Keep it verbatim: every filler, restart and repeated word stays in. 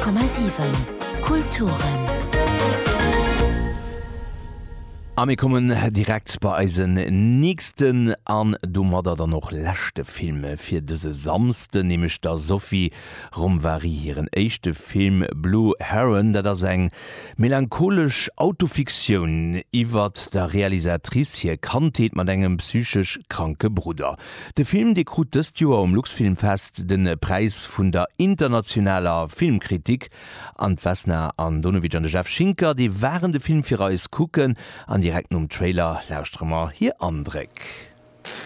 Komma siwen Kulturen. A mir kommen direkt bei eisen nächsten an domadder dann och leschte Film fir dëse Samsden, nämlech der Sophie Romvari hiren éischte Film Blue Heron. Dat ass eng melancholesch Autofiktioun iwwert der Realisatrice hir Kandheet mat engem psychesch kranke Brudder. De Film, dee krut dëst Joer um Luxfilmfest de Präis vun der internationaler Filmkritik. An d'Vesna Andonovic an de Jeff Schinker, déi waren de Film fir eis kucken an direkt nom Trailer lauschtere mer hir Andréck.